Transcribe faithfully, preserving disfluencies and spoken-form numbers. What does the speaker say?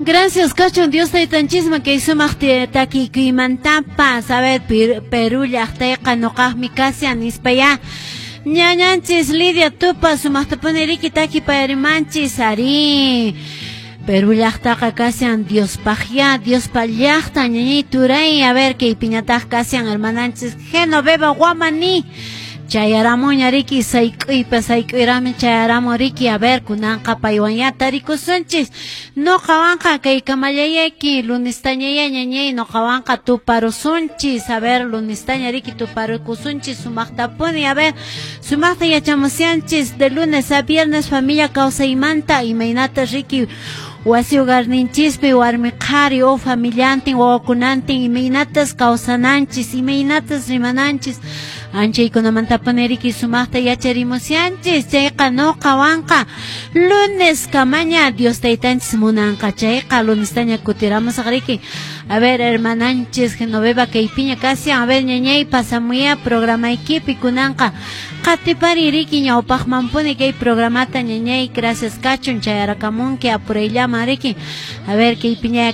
Gracias kachun Dios taytanchisman kay sumaq takikuymantapas. A ver, Perú llaqtayqa nuqaqmi kashan nispaya. Ñañanchis Lidia Tupa sumaqtapuni riki takipayarimanchis ari. Perú llaqtaqa kashan Diospaqya, Diospa llaqta ñañay turay. A ver, kaypiñataq kashan hermananchis Genoveva Guamani. Chayaramuña riki sayk'uypa sayk'uyrami chayaramun riki. A ver, kunanqa paywan tarikusunchis. Nuqawanqa kay kamallayaki lunestañaya ñañay nuqawanqa tuparusunchis. A ver, lunestaña riki tuparukusunchis sumaqtapuni. A ver, sumaqta yachamusyanchis de lunes a viernes familia kawsaymanta imaynata riki wasi hogarninchispi warmi qhari o familiantin wawakunantin imaynatas kawsananchis imaynatas rimananchis anchaykunamantapuni riki sumaqta yacharimusyanchis. Chayqa nuqawanqa lunes kamaña Dios taytanchis munanqa chayqa lunestaña kutiramusaq riki. A ver, hermananchis Genoveva kaypiña kashan. A ver, ñañay pasamuya programaykipi kunanqa qatipari riki ñawpaqmanpuni kay programata ñañay. Gracias kachun chayarakamunki apurayllaman riki. A ver, kaypiña.